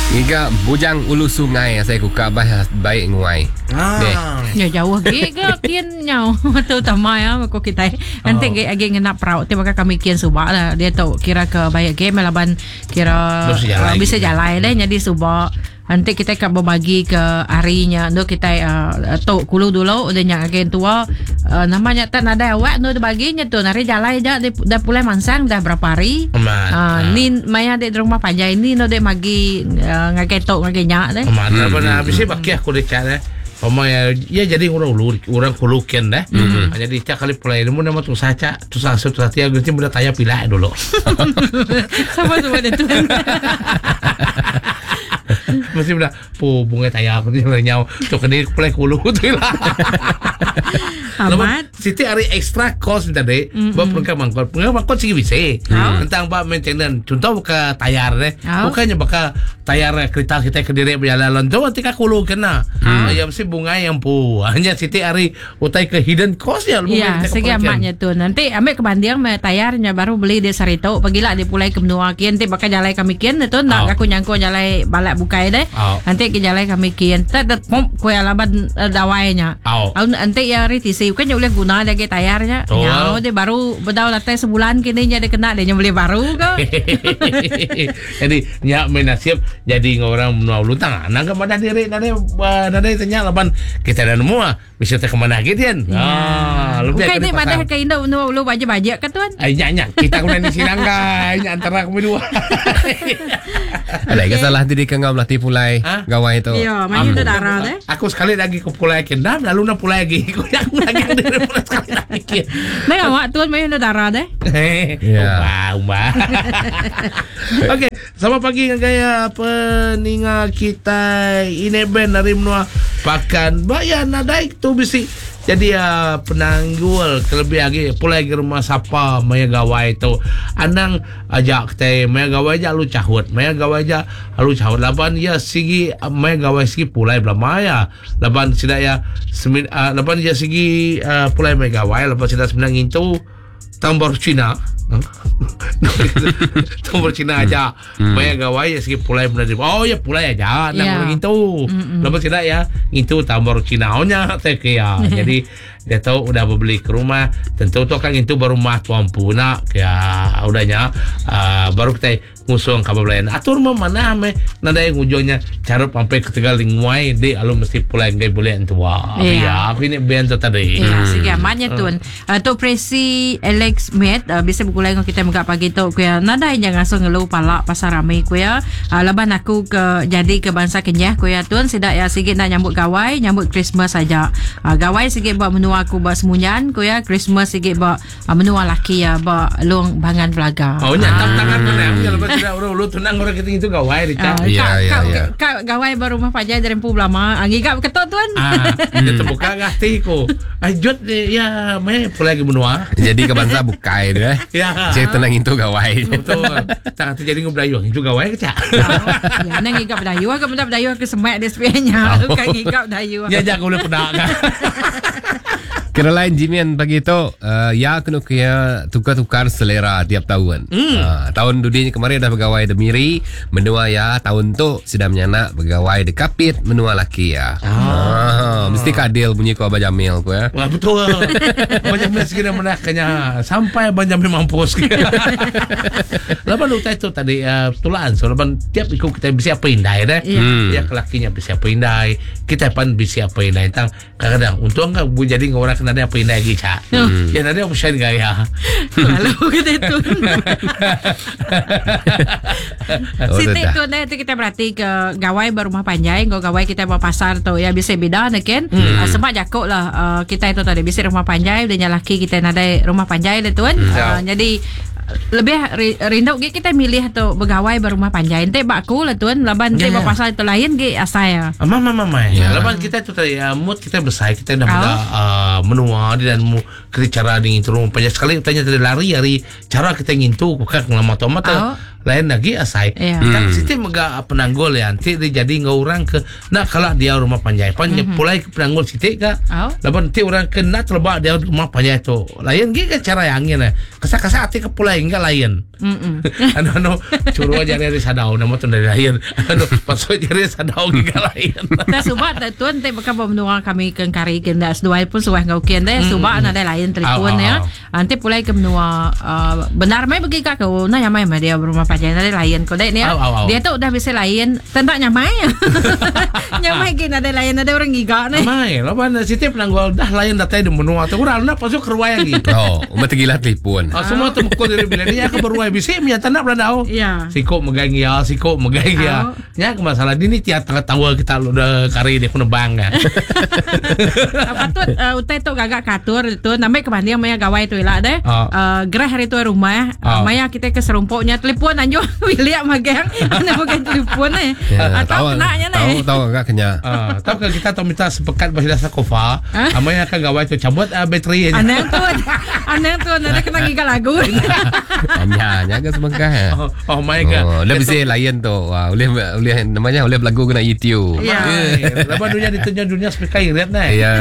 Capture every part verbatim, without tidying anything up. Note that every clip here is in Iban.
Ngiga bujang ulu sungai saya kuka bah baik nguai. Ah. Deh. Ya jauh ge ke kian nyau tu tama ya ko kita. Nanti ge agi ngena perau ti baka kami kian subak lah. Dia tu kira ke baik ge melaban kira Bisa jalai. uh, bisa jalai deh jadi subak. Nanti kita akan berbagi ke harinya tu kita uh, tu kulu dulu udah nyak agen tua uh, namanya tak nadai awak tu baginya tu nari jalai aja dia dah pulai mansang dah berapa hari. Amat. Uh, Ah. ni maya dek di rumah panjai ni no dek magi uh, ngagai tok ngagai nyak deh. Amat. Apa nak habis baki aku dekat eh. Pama ya, ya jadi orang ulu, orang kulukin dah. Mm-hmm. Jadi cak kali pulai ni nama tu saca, tu sasut tu satia ganti muda taya pilai dulu. Sama semua dia tu. Mesti muda pu bunga taya aku ni nyau tu kena pulai kulu tu lah. Amat. Siti hari extra cost ni tadi, mm-hmm. buat perengkap mangkot. Perengkap mangkot sigi bisa. Mm. Tentang bab maintenance. Contoh buka tayar ni, Oh. bukannya bakal tayar kereta kita ke diri berjalan tu nanti kulu kena. Mm. Ya mesti bunga yang pu. Hanya Siti hari utai ke hidden cost ya. Ya, segi amatnya tu. Nanti ambil kebanding me tayarnya baru beli dia sarito. Pagilah dia pulai ke menua kian. Nanti bakal jalai kami kian tu nak Oh. aku nyangko jalai balak bukai deh. Oh. Nanti ke jalai kami kian. Tak tak pom kuih alaban uh, dawainya. Oh. Au nanti ya hari tisi kan boleh guna lagi tayarnya. Betul. Nyau dia baru bedau latai sebulan kini nya dia kena dia nya beli baru ke. Jadi nyak main nasib jadi orang menua ulu tang. Nang ke mana diri nade nade tanya laban kita dah nemu ah bisa tak ke mana gitu kan. Ah, lebih Bukan ni madah ke induk menua ulu baje-baje ke tuan? Ay, nyak nyak kita kena di Sirangkai nyak antara kami dua. Ada ke salah diri ke ngam latih pulai Ha? gawai tu. Ya, mana tu darah deh. Aku sekali lagi ke pulai Kendam lalu nak pulai lagi. Aku nak lagi dari pulai sekali lagi. Nang awak tuan mana tu darah deh. Ya. Umba, umba. Okey, selamat pagi dengan gaya peninga kita ini band dari menua pakan bayan nadai tu bisi. Jadi uh, penanggul kelebih lagi pulai ke rumah siapa maya gawai tu. Anang ajak kita maya gawai ja lu cahut. Maya gawai ja lu cahut laban ya sigi maya gawai sigi pulai belah maya. Laban sida ya semin uh, laban ya sigi uh, pulai maya gawai laban sida sebenarnya ngintu tambor Cina. Tambor Cina aja. Maya gawai ya sigi pulai benar. Oh ya pulai aja nang Ya. orang itu. Lepas tidak ya itu tambor Cina nya teh ya. Jadi dia tahu udah beli ke rumah tentu tu kan itu baru mah tuan puna ya udahnya uh, baru kita ngusung kabar lain atur mah mana ame nada yang ujungnya cara sampai ke Tegal nguai di alu mesti pulai ngai boleh tua Ya. ya aku ini band tu tadi Ya, segi amatnya tuan. Uh, tu presi Alex Met uh, bisa bergulai dengan kita megak pagi tu kuya. Nadai jangan langsung ngeluh palak pasal rame kuya. Uh, laban aku ke jadi ke bangsa Kenyah kuya tuan sidak ya sikit nak nyambut gawai, nyambut Christmas saja. Uh, gawai sikit buat menua aku buat semunyan kuya, Christmas sikit buat uh, menua laki ya buat long bangan belaga. Oh, nyatap tangan mana? Aku lepas tidak orang lu tunang orang kita itu gawai di Uh, Ya, kak, ya, kak, ya. kak, gawai baru rumah panjai dari empu belama. Ah, ngigap ketok tuan. Ah, dia terbuka hati ku. Ajut ya, me pulai ke benua. Jadi ke bangsa bukai dia. eh. Ya. Saya tenang itu gawai. Betul. Tak hati jadi ngubrayu, itu gawai ke cak. Ya, nang ngigap dayu, aku benda dayu aku semak dia sebenarnya. Bukan ngigap dayu. Ya jangan boleh pedak kan. Kira lain Jimian pagi tu uh, ya kena kira tukar-tukar selera tiap tahun. Mm. Uh, tahun dudinya kemarin dah bergawai de Miri, menua ya tahun tu sudah menyanak bergawai de Kapit menua laki ya. Ah. Uh, mesti kadil bunyi ko Abah Jamil ko ya. Wah betul. Banyak mesti kena menakanya sampai banyak mampus. Laban utai tu tadi uh, tulaan so laban tiap ikut kita bisa apa indai deh. Ya. Hmm. Ya kelakinya bisa apa indai, kita pan bisa apa indai. Tang kadang-kadang untung kan bu jadi orang kena ada apa indai lagi cak. Hmm. Ya nanti aku share gaya. Lalu kita itu. Oh, Siti dah. tu nanti kita berarti ke gawai berumah panjai, ngau gawai kita bawa pasar tu ya bisa beda ne kan. Hmm. Uh, sebab jakok lah uh, kita itu tadi bisa rumah panjai dan laki kita nadai rumah panjai dah tuan. Hmm. Uh, jadi lebih ri- rindu ge kita milih tu bergawai berumah panjai. Ente bak aku lah tuan laban Ya, ente ya. bawa pasar itu lain ge asai ya. Mama mama Ya. ya. Laban kita tu tadi uh, mood kita besar kita dah Oh. muda uh, menua di dan mu kita cara dengan itu rumah panjang sekali tanya tadi lari hari cara kita ngintu bukan lama tu mata Oh. lain lagi asai. Ya. Tang siti mega penanggul ya nanti dia jadi ngau orang ke nak kalau dia rumah panjai. Pan mm-hmm. pulai ke penanggul siti ke. Oh. Laban nanti orang ke nak terlebak dia rumah panjai tu. Lain gi ke cara yang angin eh. Kesak-kesak hati ke pulai enggak lain. Mm-mm. Anu anu curu aja dari sadau nama tu dari lain. Anu pasal jari sadau enggak lain. Tak subak tak tuan tak bakal menua kami ke kari ke ndak seduai pun suah ngau kian deh subak ada lain telefon ya. Nanti pulai ke menua uh, benar mai bagi kak kau nak nyamai mai dia rumah panjai ada lain kau dek ni. Dia tu dah bisa lain tentak nyamai. Nyamai ke ada lain ada orang giga ni. Nyamai lawan siti penanggul dah lain datai di menua tu urang nak pasal keruai lagi. Oh, umat gila telefon. Oh, semua tu mukul dari bila dia ke beruai bisi menyata nak belandau. Ya. Sikok megang ya, sikok megang ya. Nya ke masalah ni tiap tengah tawa kita udah kari dia kena bang kan. Patut uh, utai tu gagak katur tu namai kebanding maya gawai tu elak deh. Oh. Uh, gerah hari tu rumah Oh. uh, maya kita ke serumpuknya telefon anjo William magang ana bukan telefon eh. Ya, Atau kenanya tahu ni. tahu agak kenya. Ah, tahu kalau kita tahu minta sepekat bahasa dasar kofa, amanya akan gawai tu cabut uh, bateri aja. Anang tu anang tu ada kena giga lagu. Nya nya ke semengkah. Ya. Oh, oh my god. Oh, dia bisa lain tu. Wah, boleh boleh namanya boleh berlagu kena YouTube. Ya. Eh, lepas dunia ditunjuk dunia speaker irit ni. Ya.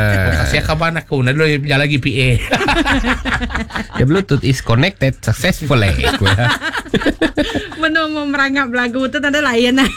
Kasih kabar aku, nak dulu jalan lagi P A. The Bluetooth is connected successfully. Menu mau merangap lagu tu tak ada lain lah.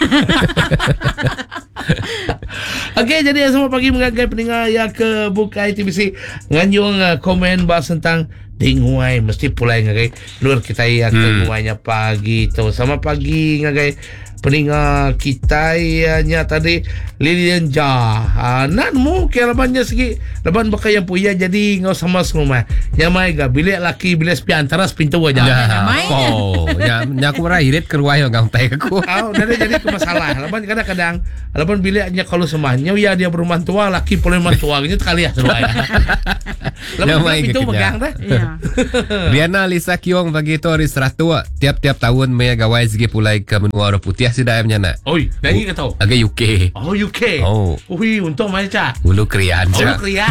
Okey, jadi semua pagi mengagai pendengar yang ke buka I T B C nganjung uh, komen bahas tentang denguai mesti pulai ngagai luar kita yang ke Hmm. nguainya pagi tu. Sama pagi ngagai pendengar kita nya tadi Lilian Ja. Ha, nak mu ke labannya segi laban bakal yang puya jadi ngau sama serumah. Nyamai ga bilik laki bilik sepi antara sepintu aja. Ya, Nyamai. oh, nya nya aku marah irit ke ruai orang tai aku. Ah, dah dia jadi ke masalah. Laban kadang-kadang laban biliknya kalau semahnya ya dia berumah tua laki boleh rumah tua gitu kali ya seruai. Laban Nyamai pintu ke megang dah. Ya. Riana Lisa Kiong pagi tu hari Seratu tiap-tiap tahun maya gawai segi pulai ke menua orang putih sida ayam nyana. Oi, lagi ke tahu? Agak U K. Oh, U K. Oh. Ui, untung macam. Ulu krian. Oh, cak. krian.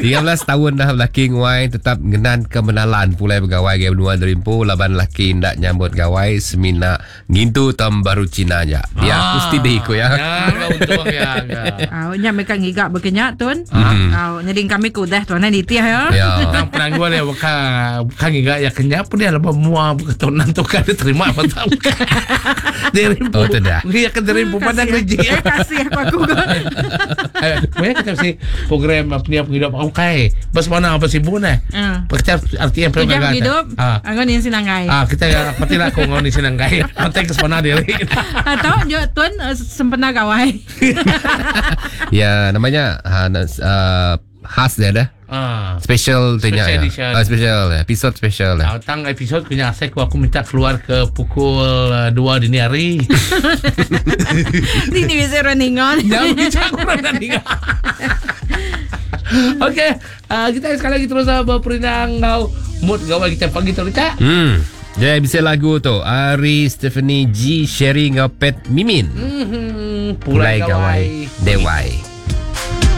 tiga belas tahun dah laki nguai tetap ngenan kemenalan pulai bergawai ke benua derimpu laban laki ndak nyambut gawai semina ngintu tahun baru Cina aja. Ya, aku mesti deh ikut ya. Ya, kau untung ya. ya. Ah, nya mereka ngigak berkenyak tuan. Hmm. Ah, jadi kami kudah tuan nitih ya. Ya. Tang penangguan ya bukan bukan enggak ya kenyap pun dia lebih mua bukan tu kan dia terima apa tahu. Dia rimpu. Oh, tidak. Dia kan dia rimpu pandang Kasih. rejik. Eh, kasih aku aku. Eh, banyak kita mesti program apa ni apa hidup aku kai. Bas mana apa sibuk ni? Ah. Kita R T M Tujuan program hidup, Ah. anggon ni sinanggai. Ah, kita patilah aku ngoni sinanggai. Penting ke sana diri. Atau jo tuan eh, sempena gawai. Ya, namanya ha, uh, khas dia dah. Ah. Special tu Special nya. edition. Ah, special episode special lah. Ah, tang episod punya asal aku, aku minta keluar ke pukul uh, dua dini hari. Ni ni bisa running on. Jangan bincang orang nak dengar. Okey, uh, kita sekali lagi terus uh, berperindang kau mood gawai kita pagi tu Cak. Hmm. Jadi bisa lagu tu Ari Stephanie G Sherry ngau Pet Mimin. Hmm, Pulai gawai Dewai.